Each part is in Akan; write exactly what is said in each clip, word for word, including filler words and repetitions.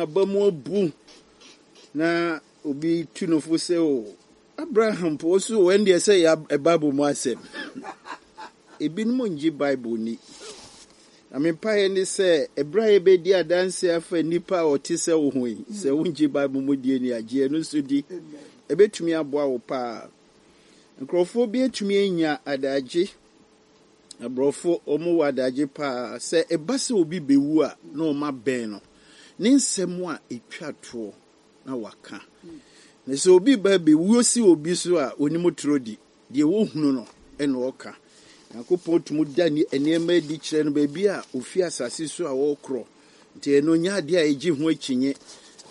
Aba mu abu na obi tu no fo sɛ o Abraham po so wɔn deɛ sɛ yɛ Bible mu asɛm. Ebinom ngye Bible ni. Na me mpaeɛ ne sɛ ɛberɛ a yɛbɛdi adanse afa nnipa a ɔte sɛ wo ho yi, sɛ wongye Bible mu die ni agye ɛno nso di. Ɛbɛtumi aboa wo paa. Nkurɔfoɔ bi atumi anya adagye. Aborɔfo wɔn wɔ adagye paa sɛ ɛba sɛ obi bɛwu a na wɔn abɛn no. Ne nsɛm a ɛtwa toɔ na waka. Na sɛ obi ba bɛwuo si obi so a onim toro di. Deɛ wɔhunu no ɛna ɔka. Nyankopɔn tumi da nneɛma adi kyerɛ no baabi a ofi asase so a wɔrekorɔ. Nti ɛno nyɛ adeɛ a ɛgye ho akyinye.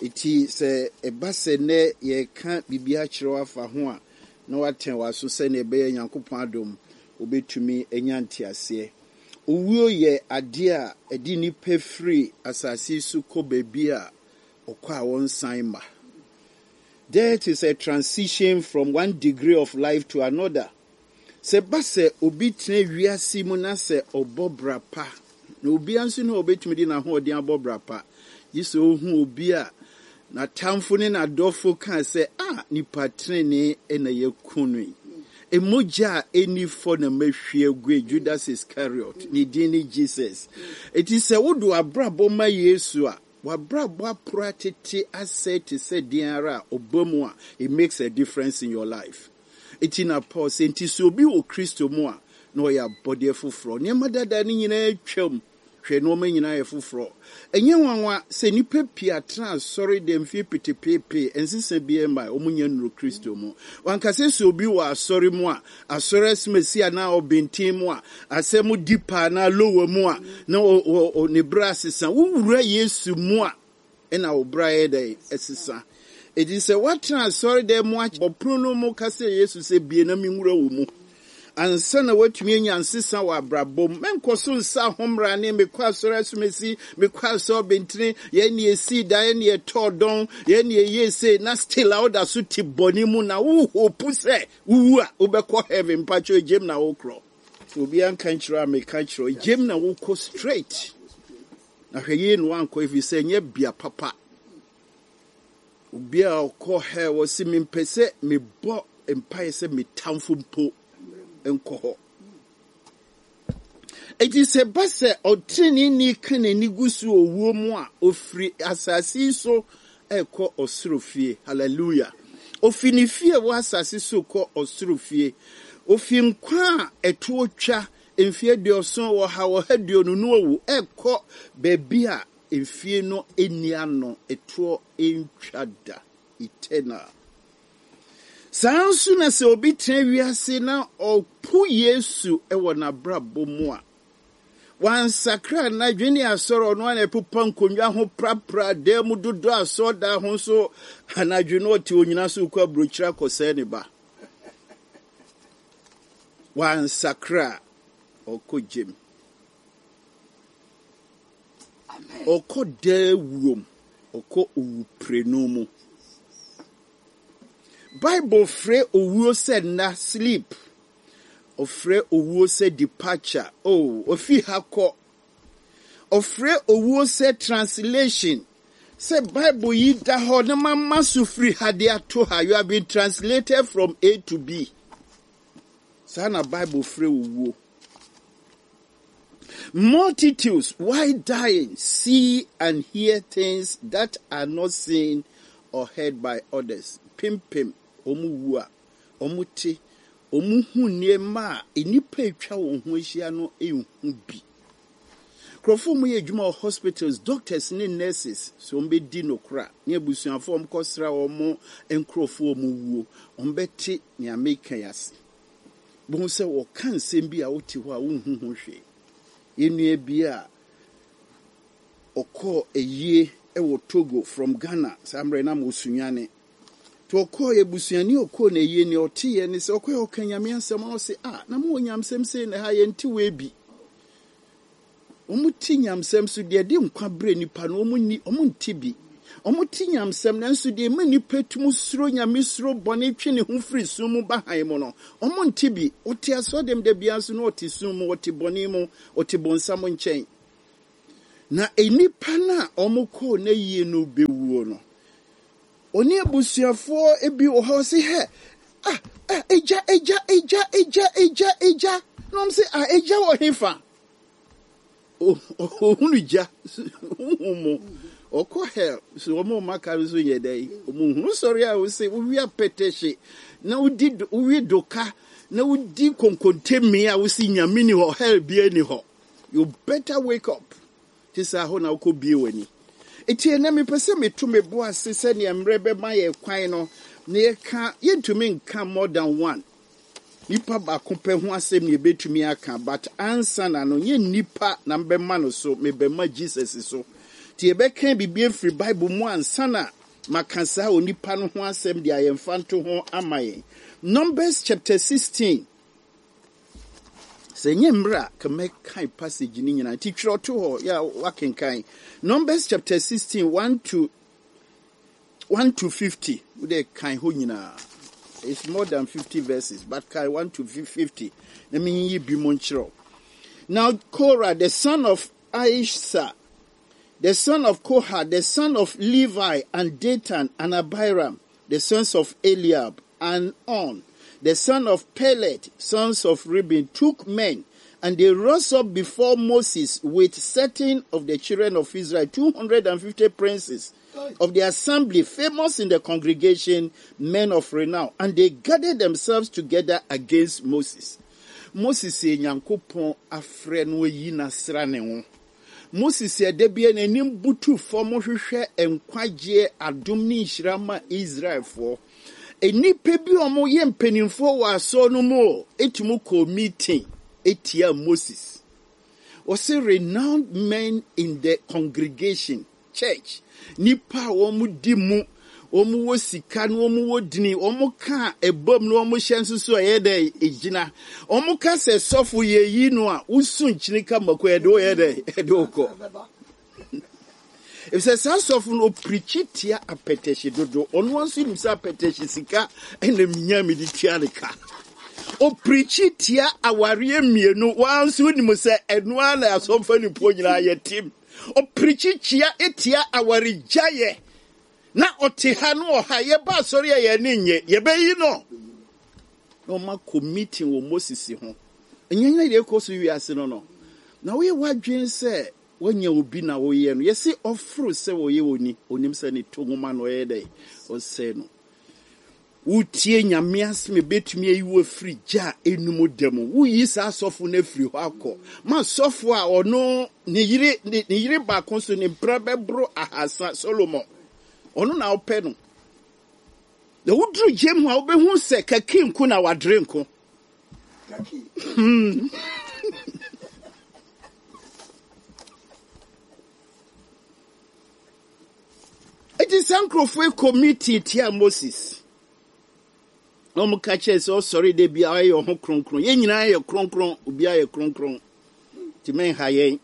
Eti sɛ ɛba sɛ nnɛ yɛreka biribi akyerɛ wo afa ho a na watɛn w'aso sɛnea ɛbɛyɛ Nyankopɔn adom wobɛtumi anya nteaseɛ. Owuo yɛ adeɛ a ɛde nnipa firi asase so kɔ baabi a ɔkɔ a wɔnsan ma. Death is a transition from one degree of life to another. Sɛ ba sɛ obi tena wiase mu na sɛ ɔbɔ bra pa, na obiara nso ne ɔbɛtumi de n'ahoɔden abɔ bra pa, gye sɛ ohu obi a n'atamfo ne n'adɔfo kaa sɛ, a nipa tenenee na yɛku no yi. Emogya a ɛni fɔ na mahwie agu Judas Iscariot, ne din ne Jesus. Eti sɛ wode w'abrabɔ ma Yesu a, w'abrabɔ aporo atete asɛe te sɛ deɛ ara a ɔba mu a, it makes a difference in your life. Eti na Paul sɛ nti sɛ obi wɔ Kristo mu a, na ɔyɛ abɔdeɛ foforɔ. Nneɛma dada no nyinaa twam. Hwɛ nneɛma nyinaa yɛ foforɔ. Ɛnyɛ nwanwa sɛ nnipa pii atena asɔre dɛm mfie petepeepee nsesa biara ma wɔn nyɛ nnuro Kristo mu. Wankasa sɛ obi wɔ asɔre mu a, asɔre asimasi anaa ɔbɛnten mu a, asɛm di pa anaa lower mu a, na ne bra asesa. Wowura Yesu mu a, ɛna wo bra yɛ dɛ ɛsesa. Eti sɛ woatena asɔre dɛm mu abɔ pono no mu ka sɛ Yesu sɛ bie na menwura wo mu. Ansa na woatumi anya nsesa wɔ abrabɔ mu. Menkɔ so nsa ahommra ne mekɔ asɔre asomasi, mekɔ asɔre bentene, yɛn ne yɛsii da, yɛn ne yɛtɔɔ dɔn, yɛn ne yɛyɛ sei, na still a woda so te bɔne mu na wohope sɛ wowu a wobɛkɔ heaven mpakyɛ gyem na wokorɔ. Sɛ obiara nka nkyerɛ a meka kyerɛ gyem na wokɔ straight. Na hwɛ yie na wankɔ ɛfiri sɛ ɛnyɛ bea papa. Obi a ɔkɔ hell wɔsi mempɛ sɛ mebɔ mpaeɛ sɛ metamfo mpo nkɔ hɔ. Eti sɛ ba sɛ ɔteneneeni ka n'ani gu so owuo mu a, ofiri asase yi so ɛkɔ ɔsoro fie. Hallelujah. Ofi ne fie wɔ asase so kɔ ɔsoro fie. Ofi nkwa a ɛtoɔ twa mfie aduɔson wɔ ha wɔ ha aduonu no owu ɛkɔ baabi a mfie no ani ano ɛtoɔ ntwa da. Eternal. Saa nso na sɛ obi tena wiase na ɔpo Yesu wɔ n'abrabɔ mu a, wansakra n'adwene asɔre ɔno ana ɛpopa nkonnwa ho prapra dan mu dodo asɔredan ho nso anadwo no ɔte onyina so kɔ aburokyire akɔsɛe ne ba. Wansakra ɔkɔ gyem. Ɔkɔ daa wuom. Ɔkɔ owuprenu mu. Bible frɛ owuo sɛ nna sleep. Ɔfrɛ owuo sɛ departure. Oh, ofi ha kɔ. Ɔfrɛ owuo sɛ translation. Sɛ Bible yi da hɔ na mama so firi ha de ato ha. You have been translated from A to B. Saa na Bible frɛ owuo. Multitudes, while dying, see and hear things that are not seen or heard by others. Pimpim, wɔn wu a, wɔn te, wɔn hu nneɛma a nnipa atwa wɔn ho ahyia no nhu bi. Nkurɔfoɔ a wɔyɛ adwuma wɔ hospitals, doctors ne nurses, so wɔn bɛdi nokora ne abusuafoɔ a wɔkɔsra wɔn nkurɔfoɔ a wɔn wuo, wɔn bɛte nea meka yi ase. Bohu sɛ wɔka nsɛm bi a wote hɔ a wonhu ho hwee. Yɛn nua bi a ɔkɔɔ ayie wɔ Togo from Ghana saa mmerɛ na mo Sunyani. Nti ɔkɔɔ abusuani a ɔkɔɔ n'ayie nea ɔteeɛ ne sɛ ɔkɔɛ ɔka Nyame asɛm a ɔse ah na mowɔ nyamsɛm sei na ha yɛnte wei bi. Wɔn te nyamsɛm so deɛ de nkwa brɛ nipa no wɔn ni wɔn nte bi. Wɔn te nyamsɛm nanso deɛ ɛma nipa tum suro Nyame suro bɔne twe ne ho firi sum mu ba han mu no wɔn nte bi. Ɔte asɔdɛm da biara nso na ɔte sum mu, ɔte bɔne mu, ɔte bonsam nkyɛn. Na nnipa no a wɔkɔɔ n'ayie no bɛwuo no, ɔne abusuafoɔ bi wɔ hɔ sɛ hɛ, ah, ah, egya, egya, egya, egya, egya, egya. Na wɔn sɛ, ah, egya wɔ hefa? Ohunu gya, huhu mu. Ɔkɔ hell, so wɔn a wɔaka no nso nyɛ dɛ. Wɔn hunu sɔre a wɔsɛ wowi apɛtɛhye, na wodi wowi doka, na wodi konkontemi a wosi Nyame ni hɔ, hell bia ni hɔ. You better wake up. Te sɛ ahɔ na wokɔ bie w'ani. Eti ɛnɛ mepɛ sɛ meto me bo ase sɛnea mmerɛ bɛma yɛ kwan no na yɛka yɛntumi nka more than one. Nipa baako pɛ ho asɛm na yɛbɛtumi aka, but ansa na no nyɛ nipa na mbɛma no so, mebɛma Jesus so. Nti yɛbɛka biribi afiri Bible mu ansa na maka saa onipa no ho asɛm de a yɛmfa nto ho ama yɛn. Numbers chapter sixteen. Sɛ nyɛ mmerɛ a ka mɛkan passage no nyinaa. Nti twerɛ to hɔ yɛ a wakenkan. Numbers chapter sixteen, one to one to fifty. Wode kan hɔ nyinaa. It's more than fifty verses, but kan one to fifty. Na menyiyi bi mu nkyerɛw. Now Korah, the son of Izhar, the son of Kohath, the son of Levi, and Dathan and Abiram, the sons of Eliab, and On, the son of Pelet, sons of Reuben, took men, and they rose up before Moses with certain of the children of Israel, two hundred and fifty princes of the assembly, famous in the congregation, men of renown, and they gathered themselves together against Moses. Moses yɛ Nyankopɔn afrɛ no ayi n'asra ne ho. Moses yɛ da bi n'anim butu fam hwehwɛ nkwagyeɛ adom ne nhyira ma Israelfoɔ. Nnipa bi a wɔyɛ mpanimfoɔ wɔ asɔre no mu etumi kɔ meeting etia Moses. Wɔsi renowned men in the congregation, church. Nipa a wɔn di mu, wɔn wɔ sika na wɔn wɔ dini, wɔn ka ɛbom na wɔn hyɛ nso so ɛyɛ dɛ egyina. Wɔn ka sɛ sɔfo yɛ yi no a wosu nkyini ka mako ɛde wɔyɛ dɛ ɛde wɔkɔ. Efisɛ saa sɔfo no opirikyi tia apɛtɛhye dodo. Ɔno nso nim sɛ apɛtɛhye sika ɛna nya mi de tua ne ka. Opirikyi tia awareɛ mmienu. Wɔn nso nim sɛ ɛnoa na asɔmfa nipo nyinaa yɛ tim. Opirikyi tia etia awaregyaeɛ. Na ɔte ha no ɔha yɛba asɔre a yɛn ani nye yɛbɛyi no. Na ɔma kɔ meeting wɔ Moses ho. Ɛnyɛ nyɛ deɛ ɛkɔ so wiase no no. Na woyɛ w'adwene sɛ wɔnyɛ obi na woyɛ no. Yɛsi ɔforo sɛ wɔyɛ oni. Onim sɛ ne to nwoma na ɔyɛ dɛ ɔsɛe no. Wotie Nyame asɛm ebetumi ayi wo afiri gya a enum da mu. Woyi saa asɔfo no afiri hɔ akɔ. Ma asɔfo a ɔno ne yere ne ne yere baako so ne mpra bɛboro ahasa Solomon. Ɔno na ɔpɛ no. Na woduru gyem hɔ a wobɛhu sɛ kaki nko na wadere nko. Hmm. Eti saa nkurɔfoɔ yi kɔ meeting tia Moses. Na wɔn ka kyerɛ sɛ ɔsɔre de bi a ɔyɛ ɔho kronkron. Yɛn nyinaa yɛ kronkron, obiara yɛ kronkron. Nti mɛnha yɛn.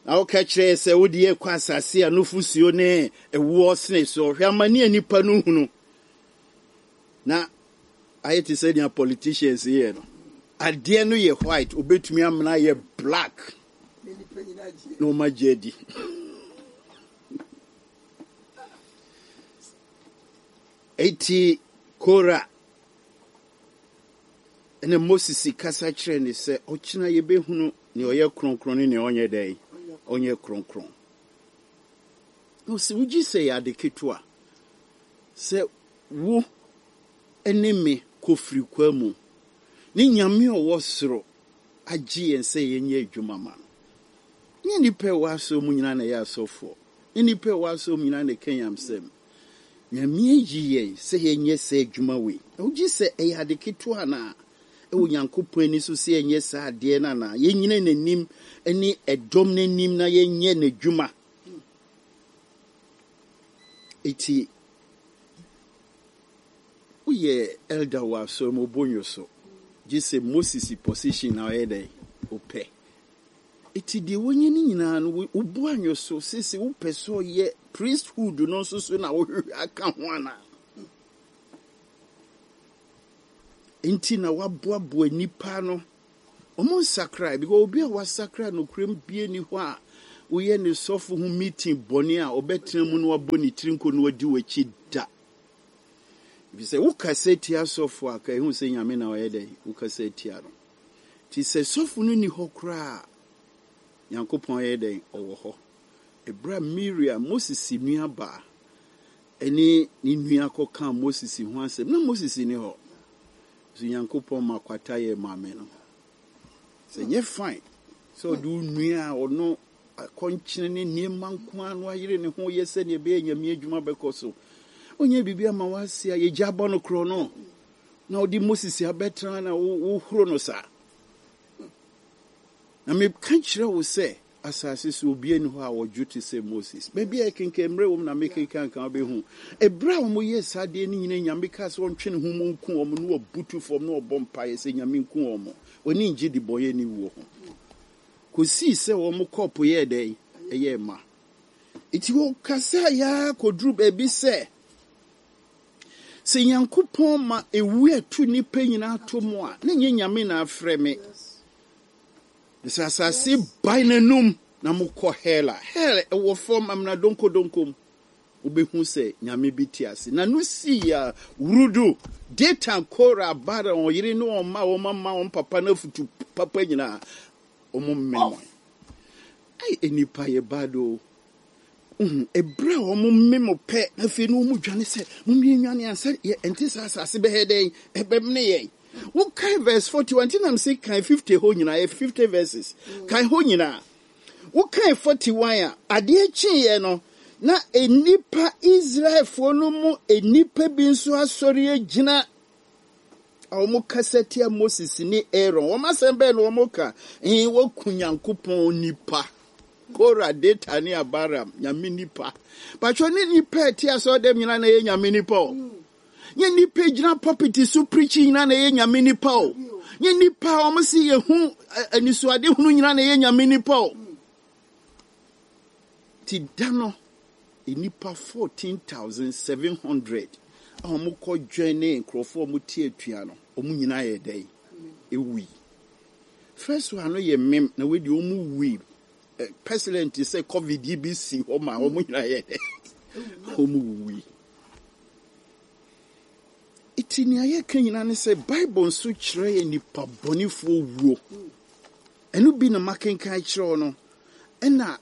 Na wɔka kyerɛ sɛ wode yɛ kɔ asase a nufusuo ne ɛwoɔ sene so. Hwɛ amane a nipa no hunu. Na ayɛ te sɛ nea politicians yɛ no. Adeɛ no yɛ white, obetumi amena yɛ black. Na wɔn agye adi. Eti Kora ɛna Moses kasa kyerɛ ne sɛ ɔkyena yɛbɛhunu nea ɔyɛ kronkron ne nea ɔnyɛ dɛn ɔnyɛ kronkron. Na ɔsɛ wogye sɛ yɛ ade ketewa sɛ wo ne me kɔfiri kwa mu ne Nyame a ɔwɔ soro agye yɛn sɛ yɛnyɛ adwuma ma no. Nyɛ nnipa a ɛwɔ asɔre mu nyinaa na ɛyɛ asɔfoɔ. Nyɛ nnipa a ɛwɔ asɔre mu nyinaa na ɛka nyamsɛm. Nyame ayi yɛn sɛ yɛnyɛ saa adwuma wei. Na wogye sɛ ɛyɛ ade ketewa anaa? Ɛwɔ Nyankopɔn ani so sɛ yɛnyɛ saa adeɛ no anaa? Yɛnyina n'anim ne ɛdɔm n'anim na yɛnyɛ n'adwuma. Eti woyɛ elder wɔ asɔre mu obonyo so. Gye sɛ Moses position na ɔyɛ dɛ ɔpɛ. Eti deɛ wɔnyɛ ne nyinaa no wobu anyo so sisi wopɛ sɛ ɔyɛ priesthood no nso so na wohwehwɛ aka ho anaa? Nti na waboaboa nipa no. Ɔmo nsakra because obi a wasakra nokorɛm bie ni hɔ a Woyɛ ne sɔfo ho meeting bɔne a, ɔbɛtena mu na wabɔ ne tiri nko na wadi w'akyi da. Ɛfiri sɛ wokasa tia sɔfo a, ka ɛhu sɛ Nyame na ɔyɛ dɛn, wokasa tia no. Nti sɛ sɔfo no ni hɔ koraa, Nyankopɔn yɛ dɛn, ɔwɔ hɔ. Ɛberɛ a Miriam, Moses nuabaa, ɛne ne nua kɔkaa Moses ho asɛm, na Moses ni hɔ. So Nyankopɔn ma kwata yɛ maame no. Sɛ nyɛ fine sɛ ɔde wo nua a ɔno akɔnkyene ne nneɛma nko ara no ayere ne ho yɛ sɛnea ɛbɛyɛ Nyame adwuma bɛkɔ so. Onyɛ biribi ama wase a yɛgya abɔ no korɔ no. Na ɔde Moses abɛtena na wohoro no saa. Na meka kyerɛ wo sɛ asase so obi ani hɔ a wɔdwo te sɛ Moses. Baabi a yɛkenkan mmerɛ wɔ mu na mekenkan ka wobɛhu. Ɛberɛ a wɔyɛɛ saa adeɛ no nyinaa, Nyame kaa sɛ ɔntwe ne ho mu nku wɔn na wɔbutu fam na wɔbɔ mpaeɛ sɛ Nyame nku wɔn. Wɔni ngye de bɔyɛ ne wuo ho. Kɔsii sɛ wɔn kɔɔpo yɛɛ dɛn? Ɛyɛɛ ma. Nti wɔkasa yaa kɔduru baabi sɛ sɛ Nyankopɔn ma ewu ɛto nnipa nyinaa to mu a, na nyɛ Nyame na afrɛ me. Sɛ asase bae n'anum na mokɔ hell a, hell ɛwɔ fam amena donkodonko mu. Wobɛhu sɛ Nyame bi te ase. Na no sii a wurudu, Datan, Kora, Abiram, wɔn yere ne wɔn mma, wɔn mama, wɔn papa no afutu papa nyinaa, wɔn mmɛn. Ai, nnipa yɛ bad o. Uhu, ɛberɛ a wɔn mmem pɛ, na afei na wɔn dwane sɛ, mommie nwane ansa yɛ ɛnte saa asase bɛyɛ dɛn, ɛbɛmene yɛn. Wokae verse forty-one, nti nam se kan fifty hɔ nyinaa, yɛ fifty verses. Kan hɔ nyinaa. Wokae forty-one a, adeɛ kyeeɛ no, na nnipa Israelfoɔ no mu nnipa bi nso asɔre agyina a wɔn kasa tia Moses ne Aaron. Wɔn asɛm bɛn na wɔn ka? Ɛn, wɔku Nyankopɔn nipa. Kora, Datan ne Abiram, Nyame nipa. Patro ne nipa a ɛte asɔre dɛm nyinaa na ɛyɛ Nyame nipa o. Nye nipa gyina pulpit so preach nyinaa na ɛyɛ Nyame nipa o. Nye nipa a wɔn si yɛ hu anisoade hunu nyinaa na ɛyɛ Nyame nipa o. Ti da no, nnipa fourteen thousand seven hundred a wɔn kɔ join ne nkurɔfoɔ a wɔn te atua no, wɔn nyinaa yɛ dɛn? Ewui. First one no yɛ mem na wei deɛ wɔn wui. Pestilence sɛ COVID yi bi si hɔ ma wɔn nyinaa yɛ dɛn? Wɔn wui. Eti nea yɛka nyinaa ne sɛ Bible nso kyerɛ yɛ nipa bɔnefoɔ wuo. Ɛno bi na makenkan kyerɛ wo no. Ɛna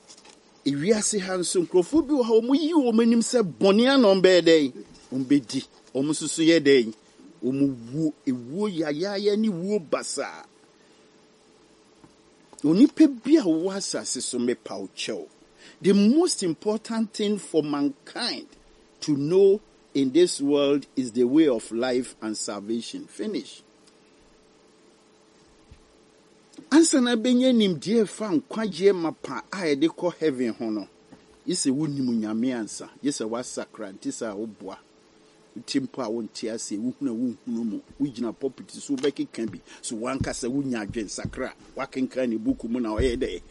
ewiase ha nso nkurɔfoɔ bi wɔ ha wɔn yi wɔn anim sɛ bɔne ano bɛyɛ dɛn? Wɔn bɛdi. Wɔn nso so yɛ dɛn? Wɔn wuo. Ewuo yayaaya ne wuo basaa. Onipa bi a wɔwɔ asase so mepa wo kyɛw. The most important thing for mankind to know in this world is the way of life and salvation. Finish. Ansa na bɛnya nimdeɛ fa nkwagyeɛ mapa a yɛde kɔ heaven ho no, gye sɛ wonim Nyame ansa, gye sɛ woasakra nti sɛ a woboa. Wote mpo a wonte aseɛ, wohunu a wonhunu mu, wogyina pulpit so wobɛkeka bi, so wankasa wonya adwensakra, woakenkan ne buku mu na ɔyɛ dɛ.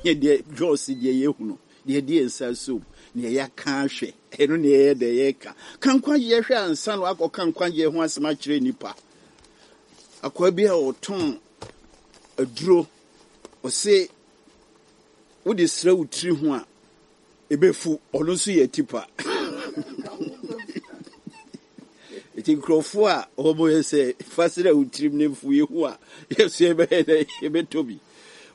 Nyɛ deɛ Jos deɛ yɛhunu, deɛ deɛ nsa som, deɛ yɛaka ahwɛ, ɛno ne yɛyɛ dɛ yɛka. Ka nkwagyeɛ hwɛ ansa na wakɔka nkwagyeɛ ho asɛm akyerɛ nnipa. Akwaa bi a ɔtɔn aduro, ɔse wode srɛ wo tiri ho a, ɛbɛfu, ɔno nso yɛ tipa. Nti nkurɔfoɔ a wɔn yɛ sɛ fa srɛ wo tirim ne mfu yɛ hu a, yɛso yɛbɛyɛ dɛ yɛbɛtɔ bi.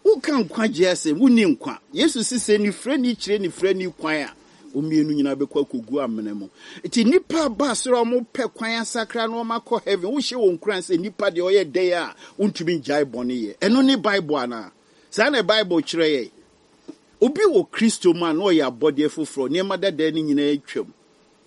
Woka nkwagyeɛ asɛm, wonni nkwa. Yesu si sɛ nifirani kyerɛ nifirani kwan a, wɔn mmienu nyinaa bɛkɔ akɔgu amena mu. Nti nnipa aba soro a wɔpɛ kwan asakra na wɔn akɔ heaven, wohyɛ wɔn nkuran sɛ nnipa deɛ ɔyɛ dɛn a, wontumi ngyae bɔne yɛ. Ɛno ne Bible anaa? Saa na Bible kyerɛ yɛn. Obi wɔ Kristo mu a na ɔyɛ abɔdeɛ foforɔ, nneɛma dada no nyinaa atwam.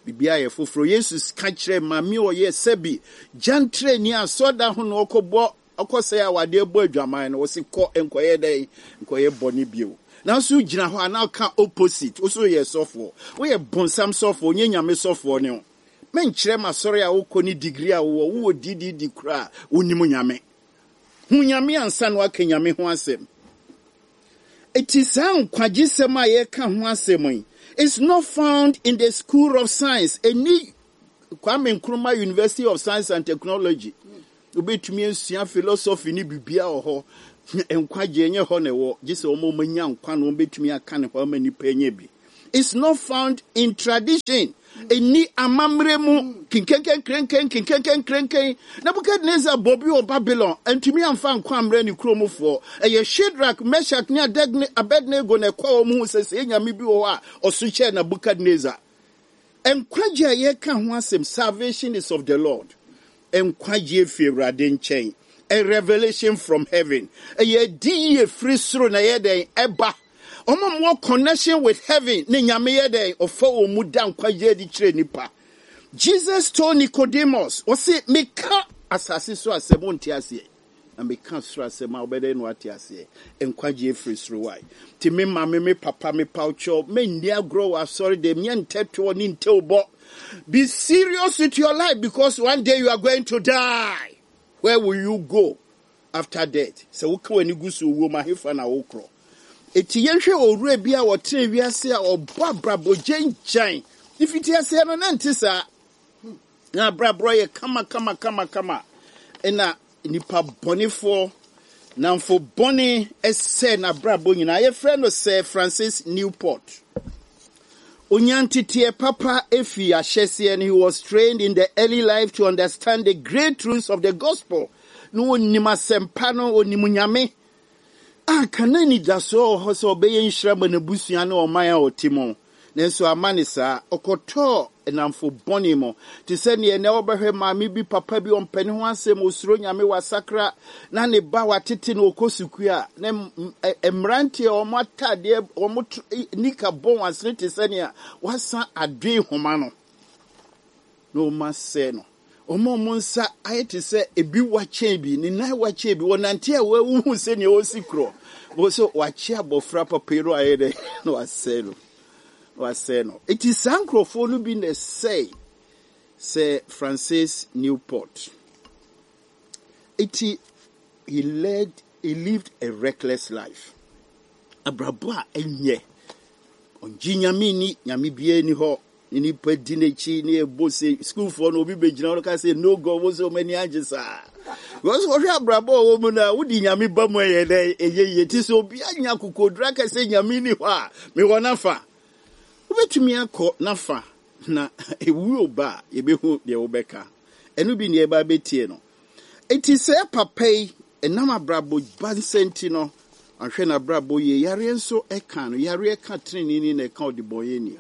Biribiara yɛ foforɔ. Yesu ka kyerɛ maame a ɔyɛ sɛbi gyantrani asɔda ho na ɔkɔbɔ ɔkɔsɛe awadeɛ bɔ adwaman no, wɔsi kɔ nkɔyɛ dɛn? Nkɔyɛ bɔne bio. Nanso gyina hɔ a na ɔka opposite. Wo so yɛ sɔfoɔ. Woyɛ bonsam sɔfoɔ, nyɛ Nyame sɔfoɔ ne wo. Menkyerɛ m'asɔre a wokɔ ne degree a wowɔ, wowɔ D D D koraa, wonim Nyame. Hu Nyame ansa na waka Nyame ho asɛm. Eti saa nkwagyesɛm a yɛka ho asɛm yi, it's not found in the school of science. Ɛni Kwame Nkrumah University of Science and Technology. Wobɛtumi asua philosophy ne biribiara wɔ hɔ. Nkwagyeɛ nyɛ hɔ na ɛwɔ, gye sɛ wɔn a wɔanya nkwa na wɔbɛtumi aka ne hɔ ama nnipa anya bi. It's not found in tradition. Ɛnni amammerɛ mu. Kinkenkenkrenken, kinkenkenkrenken. Nebukadnezar bɔ bi wɔ Babylon, antumi amfa nkwa ammrɛ ne kuromfoɔ. Ɛyɛ Shadrach, Meshach ne Abednego na ɛkɔɔ wɔn ho sɛ sɛ nyame bi wɔ hɔ a ɔso kyɛɛ Nebukadnezar. Nkwagye a yɛka ho asɛm, salvation is of the Lord. Nkwagye fi Awurade nkyɛn. A revelation from heaven. Ɛyɛ adi yie firi soro na ɛyɛ dɛn ɛba. Wɔn a wɔwɔ connection with heaven ne Nyame yɛ dɛn ɔfa wɔn mu da nkwagye adi kyerɛ nipa. Jesus told Nicodemus, ɔse meka asase so asɛm wonte aseɛ. Na meka soro asɛm a wobɛdɛn na wate aseɛ. Nkwagye firi soro wae. Nti me maame, me papa, me pawkyɛw, menni agorɔ wɔ asɔre dɛm, nyɛ ntɛtoɔ ne ntɛwbɔ. Be serious with your life because one day you are going to die. Where will you go after death? Sɛ woka w'ani gu so owuo ma hefa na wokorɔ. Eti yɛnhwɛ owura bi a ɔtena wiase a ɔbɔ abrabɔ gyangyan. Mfiti aseɛ no na nte saa. Na abrabɔ yɛ kama kama kama kama. Ɛna nipa bɔnefoɔ namfo bɔne ɛsɛ n'abrabɔ nyinaa. Yɛfrɛ no Sir Francis Newport. Onyanteteɛ papa efi ahyɛseɛ no, he was trained in the early life to understand the great truths of the gospel. Na onim asɛmpa no, onim Nyame. A kana anidasoɔ wɔ hɔ sɛ ɔbɛyɛ nhyira ma n'abusua ne ɔman a ɔte mu. Nanso ama ne saa, ɔkɔtɔɔ nnamfo bɔne mu. Te sɛ neɛ nɛ wɔbɛhwɛ maame bi, papa bi, ɔmpɛ ne ho asɛm, osuro Nyame, wasakra, na ne ba watete no ɔkɔ sukuu a, na mmeranteɛ a wɔn atadeɛ, wɔn nika bɔ wɔn asene te sɛ nea wasan adoe homa no. Na wɔn asɛe no. Wɔn a wɔn nsa ayɛ te sɛ ebi wakyɛn bi, ne nan wakyɛn bi, wɔnante a wɔahuhu sɛnea wɔsi korɔ. Wɔn sɛ wakye abɔfra papa yi no ayɛ dɛ na wasɛe no. Wasɛe no. Eti saa nkurɔfoɔ no bi na ɛsɛe Sir Francis Newport. Eti he led he lived a reckless life. Abrabɔ a ɛnyɛ. Ɔngye Nyame ni, Nyame biara ni hɔ. Ne nipa di n'akyi ne ɛbɔ se sukuufoɔ no obi bɛgyina hɔ ka sɛ no God, wo sɛ ɔmo ani agye saa. Because wɔhwɛ abrabɔ a ɔwɔ mu no a, wode Nyame ba mu ɛyɛ dɛ ɛyɛ yie. Ti sɛ obi anya akokoduru aka sɛ Nyame ni hɔ a, mewɔ n'afa. Wobɛtumi akɔ n'afa na ewuo ba a yɛbɛhu deɛ wobɛka. Ɛno bi ne yɛba bɛtie no. Eti sɛ papa yi ɛnam abrabɔ ba nsa nti no, ahwɛ n'abrabɔ yie. Yareɛ nso ɛka no. Yareɛ ka tenenee na ɛka ɔdebɔnyɛni.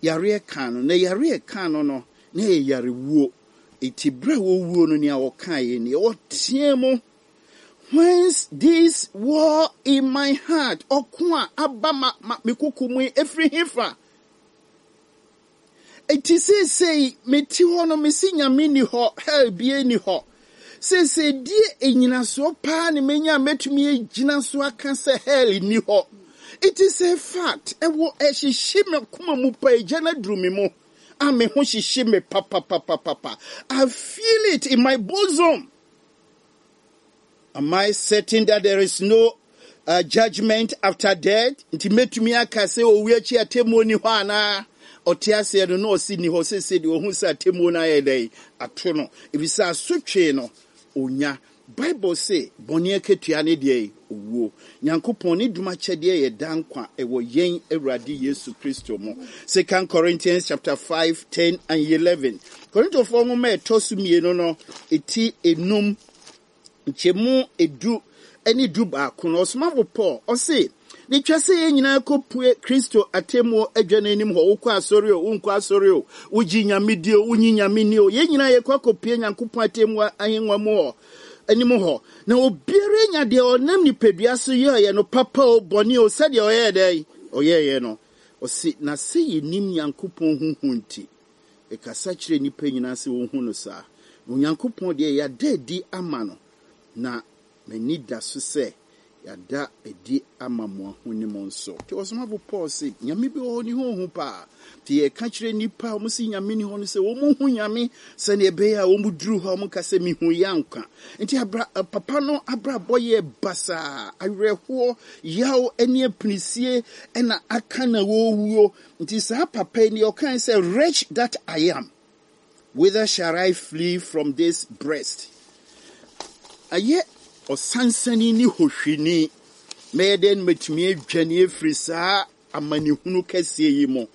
Yareɛ ka no. Na yareɛ ka no no, na ɛyɛ yarewuo. Eti berɛ a wɔwuo no, nea ɔkaeɛ nie, ɔteɛ mu. Whence this war in my heart? Ɔko a aba ma, ma me koko mu yi, efiri hefa? Eti seesei mete hɔ no, mesi Nyame ni hɔ, hell bie ni hɔ. Seesei die enyinasoɔ paa ne menya a mɛtumi agyina so aka sɛ hell ni hɔ. It is a fact. Ɛwɔ ɛhyehye me koma mu pa, egya no aduru me mu. A me ho hyehye me papapapapa. I feel it in my bosom. Am I certain that there is no uh, judgment after death? Nti mɛtumi aka sɛ owu akyi atemmuo ni hɔ anaa? Ɔte aseɛ no na ɔsi ni hɔ sese deɛ ɔhu sɛ atemmuo no ayɛ dɛn ato no. Efisɛ asotwe no onya. Bible se bɔne akatua ne deɛ owuo. Nyankopɔn ne dom akyɛdeɛ yɛ da nkwa ɛwɔ yɛn Awurade Yesu Kristo mu. Second Corinthians chapter five, ten and eleven. Korintofoɔ nwoma a ɛtɔ so mmienu no, eti enum, nkyɛmu edu ɛne du baako no, ɔsomafo Paul ɔse ne twa sɛ yɛn nyinaa kɔpue Kristo atemmuo adwa no anim hɔ. Wokɔ asɔre o, wonkɔ asɔre o, wogye Nyame di o, wonyi Nyame ni o, yɛn nyinaa yɛkɔ akɔpue Nyankopɔn atemmuo ahengua mu hɔ anim hɔ. Na obiara nya deɛ ɔnam nipadua so yɛeɛ no, papa o, bɔne o, sɛdeɛ ɔyɛɛ dɛn ɔyɛeɛ no. Ɔse na sɛ yɛnim Nyankopɔn huhu nti, ɛkasa kyerɛ nnipa nyinaa sɛ wɔnhu no saa. Na Onyankopɔn deɛ yɛada adi ama no, na m'ani da so sɛ yɛada adi ama mo ahonim nso. Nti ɔsomafo Paul se Nyame bi wɔ hɔ ne ho hu paa. Nti yɛka kyerɛ nnipa a wɔn se Nyame ni hɔ no sɛ wɔn hu Nyame sɛnea ɛbɛyɛ a wɔn duru hɔ a wɔn ka sɛ mihu yɛ anka. Nti abra, papa no abrabɔ yɛ basaa, awerɛhoɔ, yaw ne apinisie ɛna aka na wɔwuo. Nti saa papa yi deɛ ɔkae sɛ, wretch that I am, whither shall I flee from this breast? Ayɛ Ɔsansani ne hohwini. Mɛyɛ dɛn na matumi adwane afiri saa amanehunu kɛseɛ yi mu?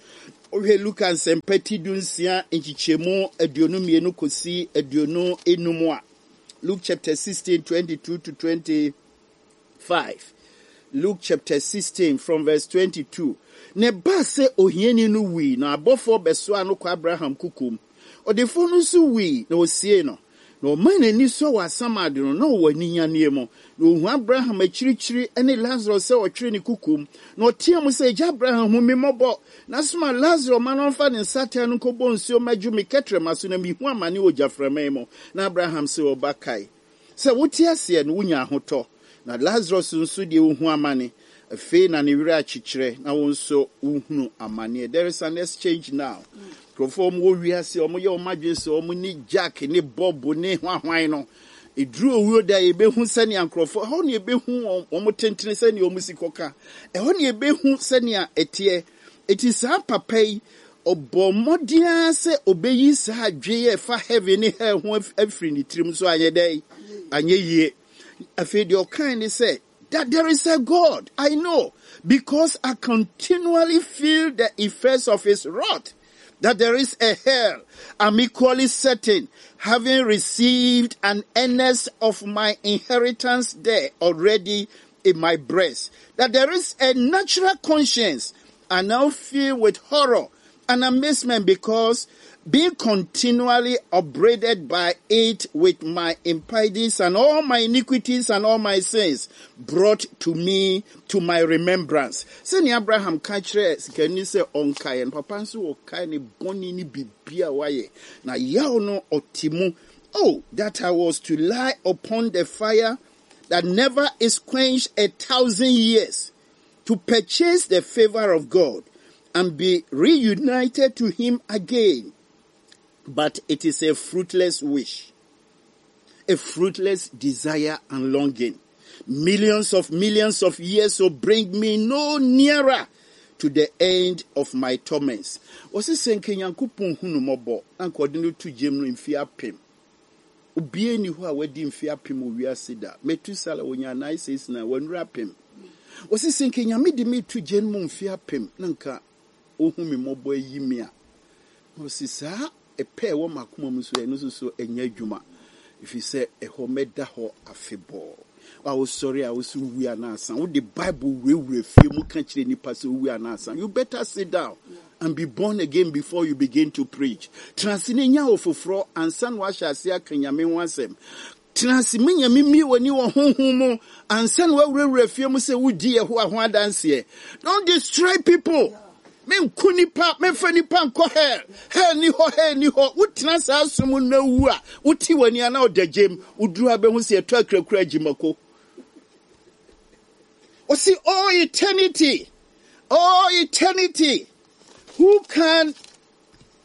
Wohwɛ Luka Nsɛmpa ti du nsia nkyekyɛmu aduonu mmienu kɔsi aduonu enum a, Luke chapter sixteen, twenty-two to twenty-five. Luke chapter sixteen from verse twenty-two. Na ɛbaa sɛ ohiani no wui, na abɔfoɔ bɛsoaa no kɔ Abraham kukum. Ɔdefoɔ no nso wui, na ɔsiee no. Na ɔmaa n'ani sɔ wɔ asamado no, na ɔwɔ aninyanneɛ mu. Na ohuu Abraham akyirikyiri ne Lasaro sɛ ɔtwere ne kukum. Na ɔteɛ mu sɛ, Agya Abraham, hu me mmɔbɔ. Na soma Lasaro ma no ɔmfa ne nsateaa no nkɔbɔ nsuo mmɛdwo me kɛtrɛma so, na mehu amane wɔ gyaframa yi mu. Na Abraham sɛ, Ɔba, kae sɛ wote aseɛ no, wonya ahotɔ. Na Lasaro nso deɛ, ohu amane. Afei na ne werɛ akyekyerɛ, na wo nso wohunu amanneɛ. There is an exchange now. Nkurɔfoɔ wɔn wɔ wiase, wɔn yɛ wɔn adwene sɛ wɔn ne Jack ne Bob ne hwanhwan no. Eduru owuo da, yɛbɛhu sɛnea nkurɔfoɔ ɛhɔ na yɛbɛhu wɔn wɔn tentene, sɛnea wɔn si kɔka ɛhɔ na yɛbɛhu sɛnea ɛteɛ. Eti saa papa yi, ɔbɔ mmɔden ara sɛ ɔbɛyi saa adwene a ɛfa heaven ne hell ho afiri ne tirim so, anyɛ dɛ anyɛ yie. Afei deɛ ɔkan ne sɛ that there is a God, I know, because I continually feel the effects of his wrath. That there is a hell, I'm equally certain, having received an earnest of my inheritance there already in my breast. That there is a natural conscience, I now feel with horror and amazement because, being continually upbraided by it with my impieties and all my iniquities and all my sins brought to me to my remembrance. Sɛnea Abraham ka kyerɛ sikani sɛ ɔnkaeɛ no, papa nso wɔkae ne bɔne ne biribi a wayɛ. Na yaw no ɔte mu. Oh, that I was to lie upon the fire that never is quenched a thousand years to purchase the favor of God and be reunited to him again. But it is a fruitless wish, a fruitless desire and longing. Millions of millions of years will bring me no nearer to the end of my torments. Wɔsi sɛ nka Nyankopɔn hu no mmɔbɔ na nka ɔde no to gyem no mfe apem. Obiara ni hɔ a wadi mfe apem wɔ wiase da. Metusala wonya nine six nine, wɔnura apem. Wɔsi sɛ nka Nyame de me to gyem mu mfe apem na nka ohu me mmɔbɔ ayi me a. Wɔsi saa ɛpɛ ɛwɔ m'akoma mu so, ɛno nso so ɛnyɛ adwuma. Ɛfiri sɛ ɛhɔ mɛda hɔ afebɔɔ. A wosɔre a wosi wu anaasa wode Bible wurawura fie mu ka kyerɛ nipa sɛ owu anaasa, you better sit down and be born again before you begin to preach. Tena ase na nya wo foforɔ ansa na wahyɛ ase aka Nyame ho asɛm. Tena ase me Nyame mmie w'ani wɔ honhom mu ansa na wawurawura fie mu sɛ wodi Yehowa ho adanseɛ. Don't destroy people. Menku nipa, memfa nipa nkɔ hell. Hell ni hɔ, hell ni hɔ. Wotena saa som na wu a, wote w'ani a na ɔda gyem. Woduru a, bɛhu sɛ yɛtɔ akurakura agyimako. Ɔsi, "Oh eternity, oh eternity, who can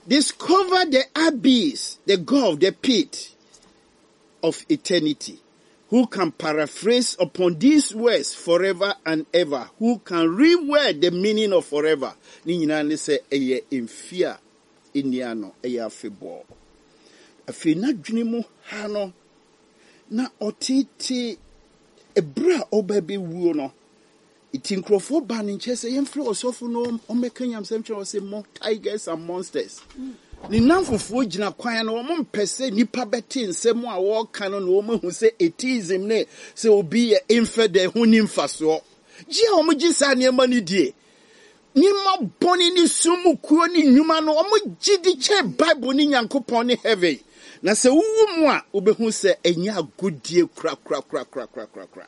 discover the abyss, the gulf, the pit of eternity? Who can paraphrase upon these words 'forever and ever'? Who can reword the meaning of forever?" Ne nyinaa ne sɛ ɛyɛ mfe a ɛnni ano, ɛyɛ afebɔɔ. Afei n'adwene mu ha no, na ɔtete ɛberɛ a ɔba bɛwuo no. Nti nkurɔfoɔ baa ne nkyɛn sɛ yɛmfrɛ ɔsɔfo no ɔmmɛka nyamsɛm kyerɛ wɔ sɛ mo tigers and monsters. Ne namfofoɔ gyina kwan no, wɔn mpɛ sɛ nipa bɛte nsɛm a wɔreka no na wɔn ahu sɛ atheism ne sɛ obi yɛ infidel ho ni mfasoɔ. Gye a wɔn gye saa nneɛma no die. Nneɛma bɔne ne sum mu kuo ne nnwuma no, wɔn gye di kyɛn Bible ne Nyankopɔn ne heaven. Na sɛ wowu mu a, wobɛhu sɛ ɛnyɛ agodie korakorakorakorakorakora.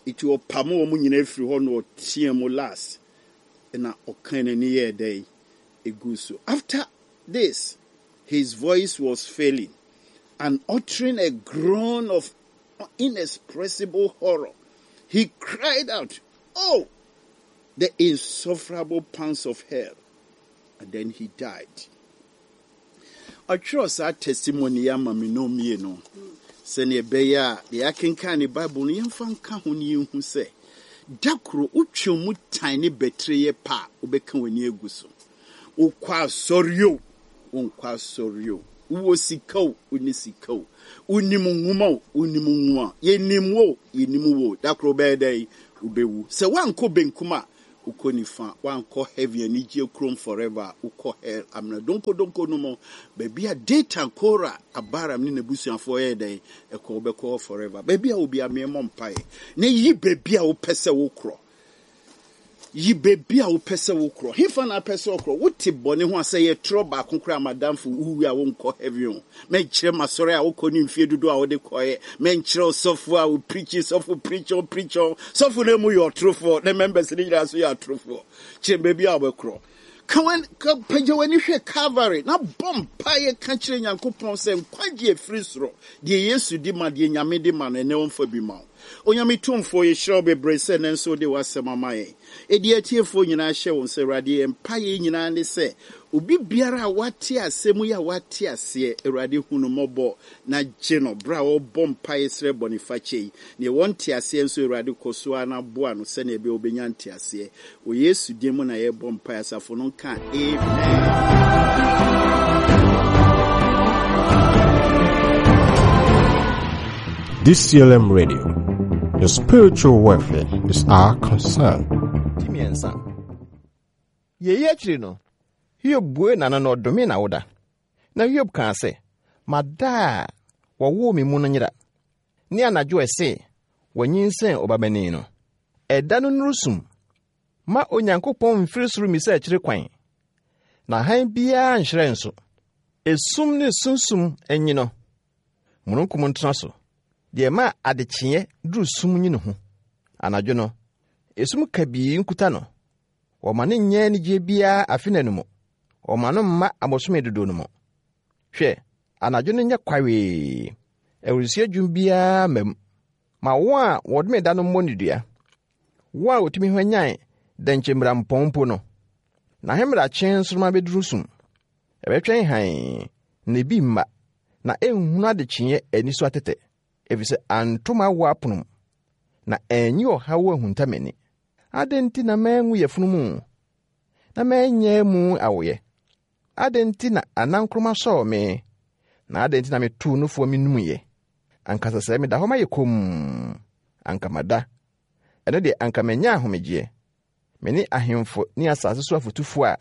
Nti ɔpam wɔn nyinaa firi hɔ na ɔteɛ mu last. Na ɔka n'ani yɛɛ dɛn egu so. After this, his voice was failing and, uttering a groan of inexpressible horror, he cried out, "Oh, the insufferable pangs of hell." And then he died. Ɔtwerɛ saa testimony yi ama me no mmienu sɛnea ɛbɛyɛ a deɛ yɛakenkan ne Bible no, yɛmfa nka ho ne yɛnhu sɛ da koro wotwe mu tan ne bɛtire yɛ pa a, wobɛka w'ani agu so. Wokɔ asɔre o, wonkɔ asɔre o. Wowɔ sika o, wonni sika o. Wonim nwoma o, wonnim nwoma. Yɛnim wo o, yɛnnim wo o. Da koro wobɛyɛ dɛn? Wobɛwu. Sɛ woankɔ benkum a, wokɔ nifa. Woankɔ heaven anigyeɛ kurom forever a, wokɔ hell amena donkodonko no mu. Baabi a Datan, Kora, Abiram ne n'abusuafoɔ yɛɛ dɛn? Ɛkɔ, wobɛkɔ hɔ forever. Baabi a wɔ biara, meɛmmɔ mpaeɛ na yi baabi a wopɛ sɛ wokorɔ. Yi baabi a wopɛ sɛ wokorɔ. Hefa na apɛ sɛ ɔkorɔ? Wote bɔne ho a, sɛ yɛ torɔ baako koraa, madamfo, wowu a wonkɔ heaven o. Mɛnkyerɛ m'asɔre a wokɔ ne mfie dodoɔ a wode kɔɛ. Mɛnkyerɛ ɔsɔfo a woprikyi, sɔfo preach on, preach on. Sɔfo no mu yɛ ɔtorofoɔ, ne members no nyinaa nso yɛ atorofoɔ. Kyerɛ baabi a wobɛkorɔ. Ka w'ani, ka, pagya w'ani hwɛ Calvary na bɔ mpaeɛ ka kyerɛ Nyankopɔn sɛ nkwagye afiri soro, deɛ Yesu di ma, deɛ Nyame di ma no, ɛnɛ ɔmfa bi ma wo. Onyame tumfoɔ, yɛhyira wo bebree sɛ ɛnɛ nso wode w'asɛm ama yɛn. Ɛdi atiefoɔ nyinaa hyɛ wɔn sɛ, Awurade, yɛn mpaeɛ nyinaa ne sɛ, obi biara a wate asɛm yi a wate aseɛ, Awurade, hu no mmɔbɔ na gye no berɛ a ɔrebɔ mpaeɛ srɛ bɔnefakyɛ yi. Neɛ wɔnte aseɛ nso, Awurade, kɔ so ara na boa no sɛnea ɛbɛyɛ wobɛnya nteaseɛ. Wɔ Yesu din mu na yɛrebɔ mpaeɛ. Asafo no nka amen. D C L M Radio, your spiritual welfare is our concern. Ti mmiɛnsa. Yei akyiri no, Hiob bue n'ano na ɔdome n'awoda. Na Hiob kaa sɛ, "Mada a wɔwoo me mu no nyera, ne anadwo a ɛse wɔnyinsɛn ɔbabanin no. Ɛda no nnuru sum. Ma Onyankopɔn mfiri soro mmisa akyiri kwan, na hann biara nhyerɛn so. Esum ne sunsum anyi no, mununkum ntena so. Deɛ ɛma adekyeeɛ duru sum nyi ne ho. Anadwo no, esum kabii nkuta no. Wɔma no nyɛ anigyeɛ biara afe no mu. Wɔma no mma abosome dodoɔ no mu. Hwɛ, anadwo no nyɛ kwawee. Awurusie dwom biara mma mu. Ma wɔn a wɔdome da no mmɔ ne dua. Wɔn a wɔtumi hwanyan dɛnkyɛmmirampɔn mpo no. N'ahemmerakye nsoromma bɛduru sum. Ɛbɛtwɛn hann, na ebi mma, na ɛnhunu adekyeeɛ ani so atɛtɛ, efisɛ anto m'awoɔ apono mu, na anyi ɔhaw ahunta m'ani. Adɛn nti na manwu yafunu mu, na manyɛ mu awoeɛ? Adɛn nti na anankoroma sɔɔ me, na adɛn nti na metoo nufoɔ menumiɛ? Anka sɛ sɛ meda hɔ mayɛ komm, anka mada. Ɛno deɛ anka manya ahomegyeɛ. Me ne ahemfo ne asase so afotufoɔ a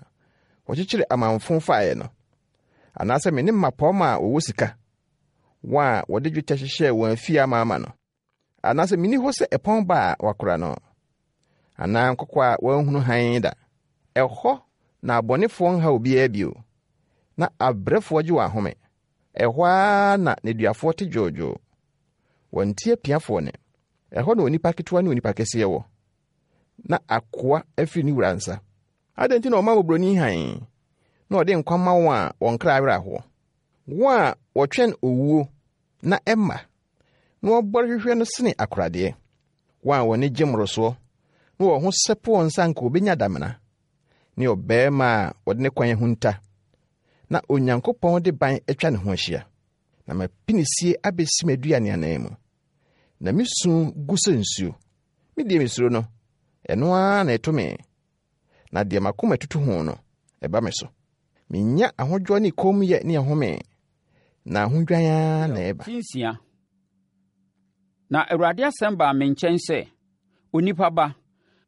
wɔkyekyere amamfo faeɛ no, anaasɛ me ne mmapɔmma a wɔwɔ sika, wɔn a wɔde dwetɛ hyehyɛɛ wɔn afie amaama no, anaasɛ menni hɔ sɛ ɛpɔn ba a wɔakora no, anaa nkɔkɔ a wɔanhunu hann da. Ɛhɔ na abɔnefoɔ nha obiara bio, na abrɛfoɔ gye wɔn ahome. Ɛhɔ ara na nneduafoɔ te dwoodwoo. Wɔnte apiafoɔ ne. Ɛhɔ na onipa ketewa ne onipa kɛseɛ wɔ, na akoa afiri ne wura nsa. Adɛn nti na ɔma mmɔborɔni hann, na ɔde nkwa ma wɔn a wɔn kra werɛ ahoɔ? Wɔn a wɔtwɛn owuo na ɛmma, na wɔbɔre hwehwɛ no sene akoradeɛ. Wɔn a wɔn ani gye mmorosoɔ, na wɔn ho sɛpɛ wɔn nsa anka wɔbɛnya damena, ne ɔbarima a wɔde ne kwan ahunta, na Onyankopɔn de ban atwa ne ho ahyia. Na m'apinisie abɛsi m'aduane anan mu, na me su gu sɛ nsuo. Me deɛ mesuro no, ɛno ara na ɛto me, na deɛ m'akoma tutu ho no, ɛba me so. Menya ahodwoɔ ne kommyɛ ne ɛhome, na ahodwan ara na ɛba. Ti nsia. Na Awurade asɛm baa me nkyɛn sɛ, "Onipa ba,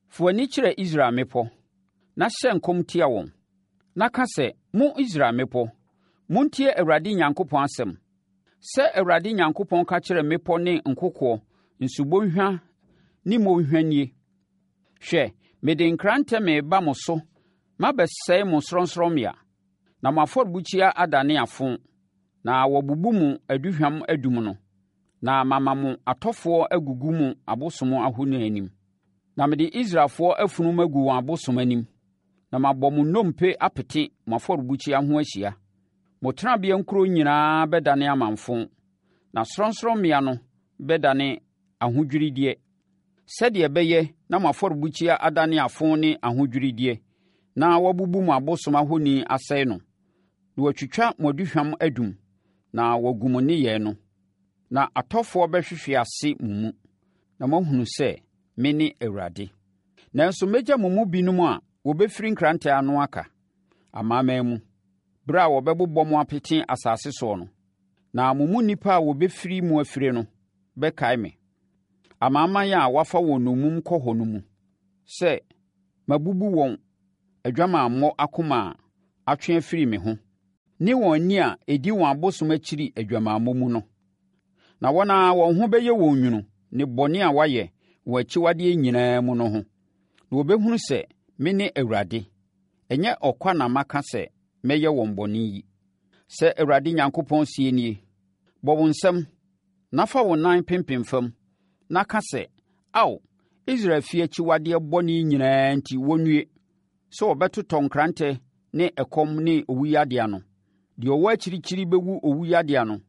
fa w'ani kyerɛ Israel mmepɔ, na hyɛ nkɔm tia wɔn. Na ka sɛ, 'Mo Israel mmepɔ, montie Awurade Nyankopɔn asɛm. Sɛ Awurade Nyankopɔn ka kyerɛ mmepɔ ne nkokoɔ, nsubɔnhwa ne mmɔnhwa nie: Hwɛ, mede nkrantɛ mereba mo so mabɛsɛe mo sorɔnsorɔmmea, na mo afɔrebukyia adane afo, na wɔabubu mo aduhwam adum no, na mama mo atɔfoɔ agugu mo abosom ahoni anim. Na mede Israelfoɔ afunu agu wɔn abosom anim, na mabɔ mo nnompe apete mo afɔrebukyia ho ahyia. Mo tenabea nkuro nyinaa bɛdane amamfo, na sorɔnsorɔmmea no bɛdane ahodwirideɛ, sɛdeɛ ɛbɛyɛ na mo afɔrebukyia adane afo ne ahodwirideɛ, na wɔabubu mo abosom ahoni asɛe no, na wɔatwitwa mo aduhwam adum, na wɔagu mo nneyɛe no. Na atɔfoɔ bɛhwehwe ase mo mu, na moahunu sɛ mene Awurade. Nanso mɛgya mo mu binom a wɔbɛfiri nkrantɛ ano aka amanaman mu, berɛ a wɔbɛbobɔ mo apete asase soɔ no. Na mo mu nnipa a wɔbɛfiri mu afire no bɛkae me, amanaman a wɔafa wɔn nnommum kɔ hɔ no mu, sɛ mabubu wɔn adwamammɔ akoma a atwe afiri me ho, ne wɔn ani a ɛdi wɔn abosom akyiri adwamammɔ mu no. Na wɔn ara wɔn ho bɛyɛ wɔn nwunu ne bɔne a wɔayɛ wɔn akyiwadeɛ nyinaa mu no ho. Na wɔbɛhunu sɛ mene Awurade. Ɛnyɛ ɔkwa na maka sɛ mɛyɛ wɔn bɔne yi. Sɛ Awurade Nyankopɔn seɛ nie, bɔ wo nsam na fa wo nan pempem fam na ka sɛ, Ao, Israel fie akyiwadeɛ bɔne nyinaa nti wɔnnue, sɛ wɔbɛtotɔ nkrantɛ ne ɛkɔm ne owuyadeɛ ano. Deɛ ɔwɔ akyirikyiri bɛwu owuyadeɛ ano,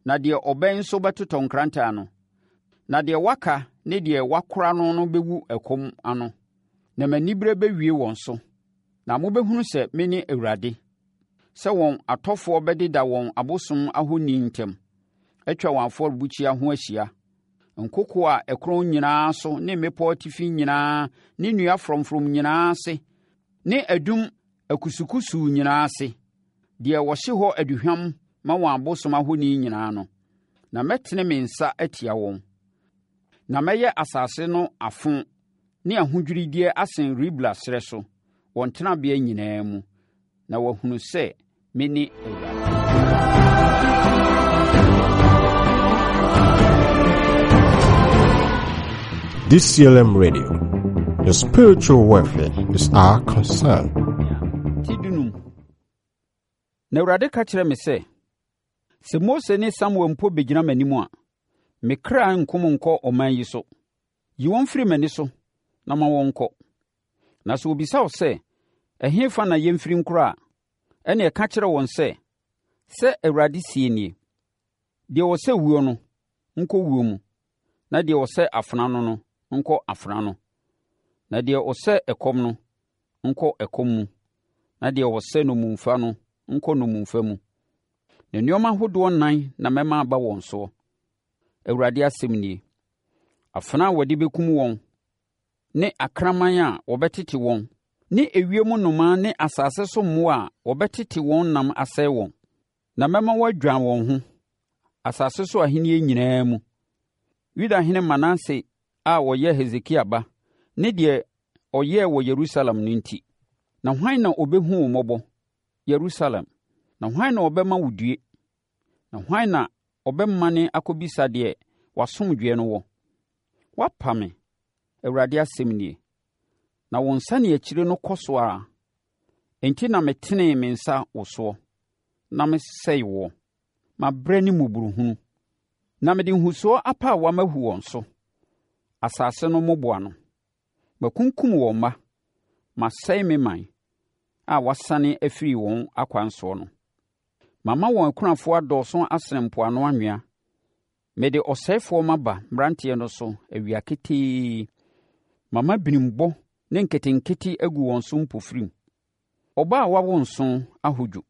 na deɛ ɔbɛn nso bɛtotɔ nkrantɛ ano. Na deɛ waka ne deɛ wakora no no bɛwu ɛkɔm ano, na m'aniberɛ bɛwie wɔn so. Na mobɛhunu sɛ mene Awurade, sɛ wɔn atɔfoɔ bɛdeda wɔn abosom ahoni ntam, atwa wɔn afɔrebukyia ho ahyia. Nkokoɔ a ɛkorɔn nyinaa so ne mmepɔ atifi nyinaa ne nnua frɔmfrɔm nyinaa ase ne adum akusukusuu nyinaa ase, deɛ wɔhye hɔ aduhwam ma wɔn abosom ahoni nyinaa no. Na mɛtene me nsa atia wɔn. Na mɛyɛ asase no afo ne ahodwirideɛ asen Ribla serɛ so, wɔn tenabea nyinaa mu, na wɔahunu sɛ mene Awurade. D C L M Radio, your spiritual welfare is our concern. Ti dunum. Na Awurade ka kyerɛɛ me sɛ, sɛ Mose ne Samuel mpo bɛgyina m'anim a, me kra nkom nkɔ ɔman yi so. Yi wɔn firi m'ani so na ma wɔnkɔ. Na sɛ wɔbisa wo sɛ, ɛhefa na yɛmfiri nkorɔ a, ɛnneɛ ka kyerɛ wɔn sɛ, sɛ Awurade seɛ nie, deɛ ɔsɛ wuo no, nkɔ wuo mu, na deɛ ɔsɛ afena no no, nkɔ afena no, na deɛ ɔsɛ ɛkɔm no, nkɔ ɛkɔm mu, na deɛ ɔsɛ nnommumfa no, nkɔ nnommumfa mu. Na nneɛma ahodoɔ nnan na mɛma aba wɔn soɔ. Awurade asɛm nie. Afena a wɔde bɛkum wɔn, ne akraman a wɔbɛtete wɔn, ne ewiem nnomaa ne asase so mmoa a wɔbɛtete wɔn nam asɛe wɔn. Na mɛma wɔadwan wɔn ho, asase so ahennie nyinaa mu. Yudahene Manase a ɔyɛ Hesekia ba, ne deɛ ɔyɛɛ wɔ Yerusalem no nti. Na hwan na ɔbɛhu wo mmɔbɔ, Yerusalem? Na hwan na ɔbɛma wo due? Na hwan na ɔbɛmane akɔbisa deɛ w'asomdwoeɛ no wɔ? Woapa me, Awurade asɛm nie. Na wo nsaneakyire no kɔ so ara. Enti na metenee me nsa wo soɔ, na mesɛe woɔ. Mabrɛ ne mmɔborɔhunu. Na mede nhusoɔ apaawa mahu wɔn so, asase no mmoboano. Makunkum wɔn mma, masɛe me man a wɔasane afiri wɔn akwan soɔ no. Mama wɔn akunafoɔ adɔɔso asene mpoano anwea. Mede ɔsɛefoɔ maba mmeranteɛ no so awia ketee. Mama binimbɔ ne nketenkete agu wɔn so mpofirim. Ɔbaa a wawo nson ahodwo.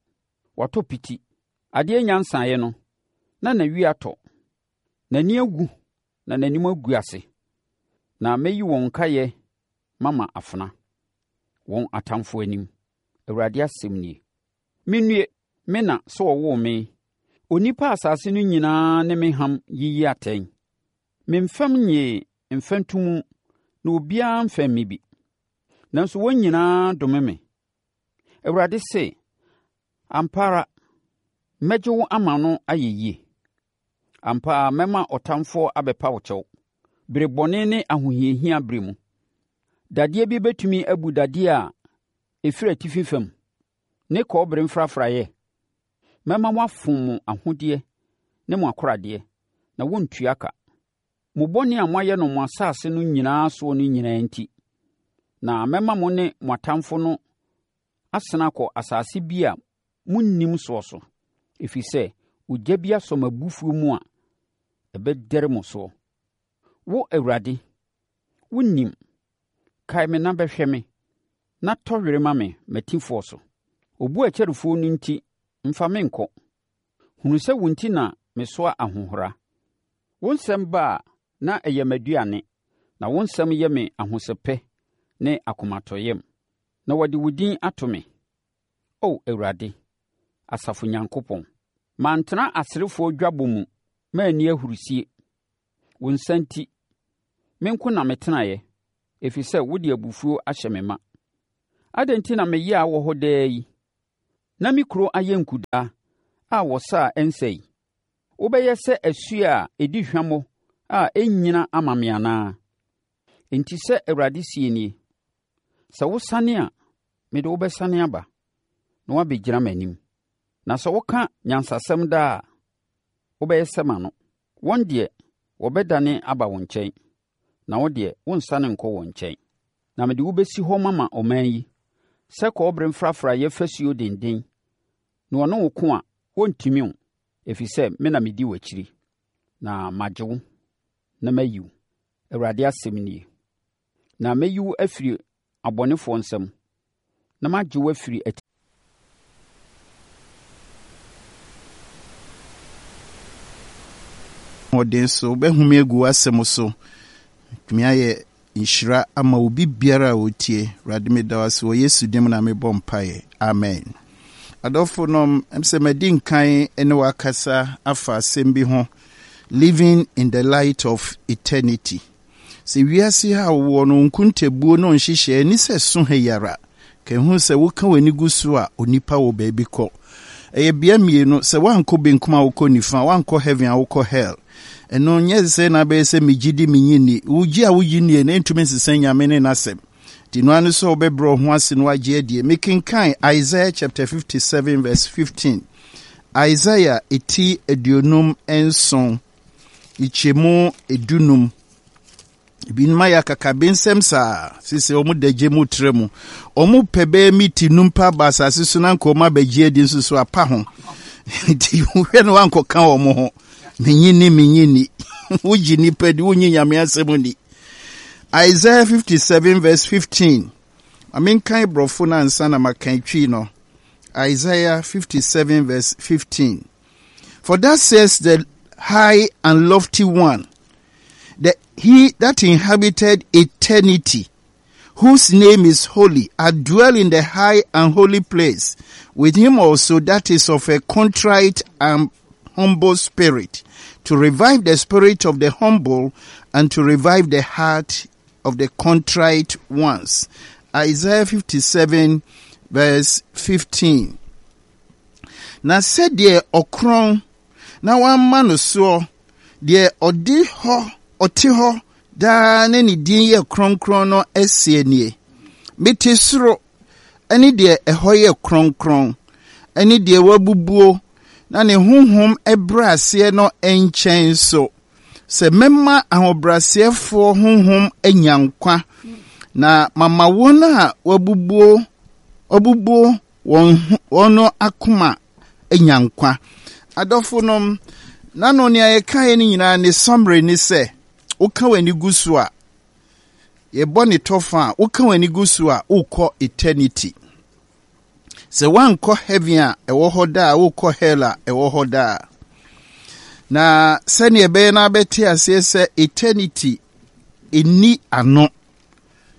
Watɔ piti. Adeɛ nya nsaeɛ no, na n'awi atɔ. N'ani awu na n'anim agu ase. Na mɛyi wɔn nkaeɛ mama afena, wɔn atamfoɔ anim. Awurade asɛm nie. Mennue, me na sɛ wɔwoo me, onipa asase no nyinaa ne me ham yiyi atɛn. Memfɛm nyee mfɛntomu na obiara mfɛm me bi. Nanso wɔn nyinaa dome me. Awurade se, ampa ara, mɛgye wo ama no ayɛ yie. Ampa ara mɛma ɔtamfoɔ abɛpa wo kyɛw, bere bɔne ne ahohiahia bere mu. Dadeɛ bi bɛtumi abu dadeɛ a ɛfiri atifi fam ne kɔbere mfrafraeɛ. Mɛma wɔafom mo ahodeɛ ne mo akoradeɛ, na wɔntua ka. Mo bɔne a moayɛ no mo asase no nyinaa soɔ no nyinaa nti, na mɛma mo ne mo atamfo no asene akɔ asase bi a monnim soɔ so, ɛfiri sɛ, ogya bi asɔ m'abufuo mu a ɛbɛdɛre mo soɔ. Wo Awurade, wonim. Kae me na bɛhwɛ me, na tɔ were ma me m'atifoɔ so. Obu a ɛkyɛrefoɔ no nti, mfa me nkɔ. Hunu sɛ wo nti na mesoa ahohora. Wo nsɛm ba a na ɛyɛ m'aduane, na wo nsɛm yɛ me ahosɛpɛ ne akomatɔyam. Na wɔde wo din ato me. O Awurade, asafo Nyankopɔn. Mantena aserefoɔ dwabɔ mu manni ahurisie. Wo nsa nti, me nko na metenaeɛ, ɛfiri sɛ wode abufuo ahyɛ me ma. Adɛn nti na me yea wɔ hɔ daa yi, na me kuro ayɛ nkudaa a wɔsa a ɛnsa yi? Wobɛyɛ sɛ asuo a ɛdi hwammɔ a ɛnnyina ama me anaa? Enti sɛ Awurade seɛ nie, sɛ wosane a, mede wo bɛsane aba, na woabɛgyina m'anim. Na sɛ woka nyansasɛm daa a, wobɛyɛ sɛ m'ano. Wɔn deɛ, wɔbɛdane aba wo nkyɛn, na wo deɛ, worensane nkɔ wɔn nkyɛn. Na mede wo bɛsi hɔ mama ɔman yi, sɛ kɔbere mfrafraeɛ fasuo denden, na wɔne wo ko a, wɔrentumi wo, ɛfiri sɛ me na medi w'akyiri, na magye wo na mayi wo, Awurade asɛm nie. Na mɛyi wo afiri abɔnefoɔ nsam, na magye wo afiri Ahoɔden so, wobɛhome agu w'asɛm so. Tumi ayɛ nhyira ama obi biara a ɔtie. Awurade meda wo ase wɔ Yesu din mu na mebɔ mpaeɛ. Amen. Adɔfo nom, ɛm sɛ madi nkan ne wakasa afa asɛm bi ho. Living in the light of eternity. Sɛ wiase ha wowɔ no nkontabuo no nhyehyɛe ni sɛ so ha yi ara. Ka ehu sɛ woka w'ani gu so a onipa wɔ baabi kɔ. Ɛyɛ bea mmienu, sɛ woankɔ benkum a wokɔ nifa, woankɔ heaven a wokɔ hell. Ɛno nyɛ sɛ na abɛyɛ sɛ megye di menye nni. Wogye a wogye nnie no ɛntumi nsesa Nyame ne n'asɛm. Nti no ano sɛ wobɛbrɛ wo ho ase na wagye adie. Mekenkan Isaiah chapter fifty-seven verse fifteen. Isaiah eti aduonum nson, nkyɛmu edunum. Ebinom ayɛ akakabensɛm saa, sisi wɔn da gye mu tra mu. Wɔn pɛ bɛyɛ miti num pa aba asase so na nka wɔn abɛgye adi nso so apa ho. Nti wohwɛ no wankɔka wɔn ho. Menyi ni, menyi ni. Wogye nipa di, wonyi Nyame asɛm ni. Isaiah fifty-seven verse fifteen. Ma menkan borɔfo no ansa na makan twi no. Isaiah fifty-seven verse fifteen. For thus says the high and lofty one, the he that inhabited eternity, whose name is holy, I dwell in the high and holy place, with him also that is of a contrite and humble spirit, to revive the spirit of the humble and to revive the heart of the contrite ones. Isaiah fifty-seven verse fifteen. Na sɛdeɛ ɔkorɔn na wamma no soɔ, deɛ ɔde hɔ, ɔte hɔ daa ne ne din yɛ kronkron no asie nie. Mete soro ɛne deɛ ɛhɔ yɛ kronkron, ɛne deɛ wabubuo na ne honhom ɛbrɛ aseɛ no nkyɛn so. Sɛ mɛma ahobrɛaseɛfoɔ honhom anya nkwa, na mama wɔn a wabubuo, wabubuo wɔn, wɔn no akoma anya nkwa. Adɔfo nom, na no nea yɛkaeɛ no nyinaa ne summary ne sɛ, woka w'ani gu so a, yɛbɔ ne tɔfa a, woka w'ani gu so a, wokɔ eternity. Sɛ woankɔ heaven a ɛwɔ hɔ daa, wokɔ hell a ɛwɔ hɔ daa. Na sɛnea ɛbɛyɛ na abɛte aseɛ sɛ eternity ɛnni ano,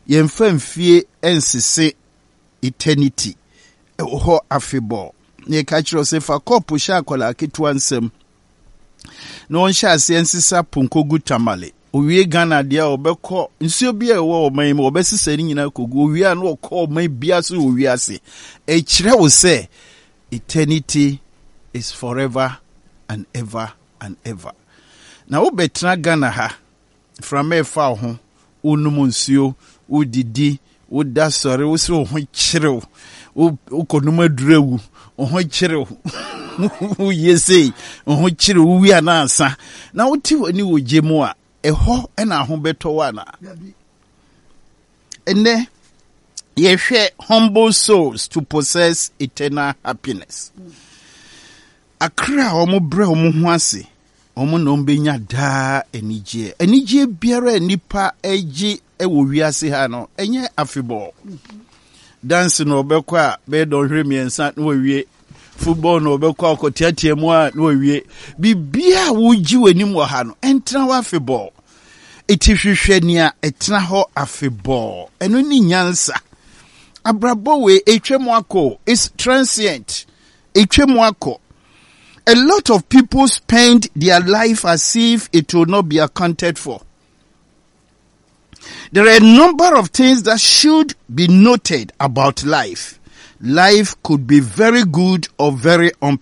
yɛmfa mfie nsese eternity ɛwɔ hɔ afebɔɔ. Na yɛka kyerɛ sɛ fa kɔɔpo hyɛ akwadaa ketewa nsam na ɔnhyɛ aseɛ nsesa ponkogu Tamale. Owie Ghana deɛ a ɔbɛkɔ nsuo bi a ɛwɔ ɔman yi mu ɔbɛsesa ne nyinaa kɔgu. Owie a na ɔkɔ ɔman biara so wɔ wiase. Ɛkyerɛ wo sɛ eternity is forever and ever and ever. Na wobɛtena Ghana ha, mframa ɛfa wo ho, wonom nsuo, wodidi, woda sɔre, wo sɛ wo ho kyerew, wokɔnom aduru awu, wo ho kyerew, woyɛ sei, wo ho kyerew, wowie anaa ansa. Na wote w'ani wɔ gye mu a, ɛhɔ ɛna ho bɛtɔ wo anaa? Ɛnnɛ, yɛhwɛ humble souls to possess eternal happiness. Akra a wɔn brɛ wɔn ho ase, wɔn na wɔn bɛnya daa anigyeɛ. Anigyeɛ biara a nipa gye wɔ wiase ha no, ɛnyɛ afebɔɔ. Dance na ɔbɛkɔ a bɛyɛ dɔnhwere mmiɛnsa na wawie. Football na ɔbɛkɔ akɔteatea mu a na wawie. Biribiara a wogye w'anim wɔ ha no, ɛntena hɔ afebɔɔ. Eti hwehwɛ nea ɛtena hɔ afebɔɔ. Ɛno ne nyansa. Abrabɔ wei etwa mu akɔ. It's transient. Etwa mu akɔ. A lot of people spend their life as if it will not be accounted for. There are a number of things that should be noted about life. Life could be very good or very unpleasant.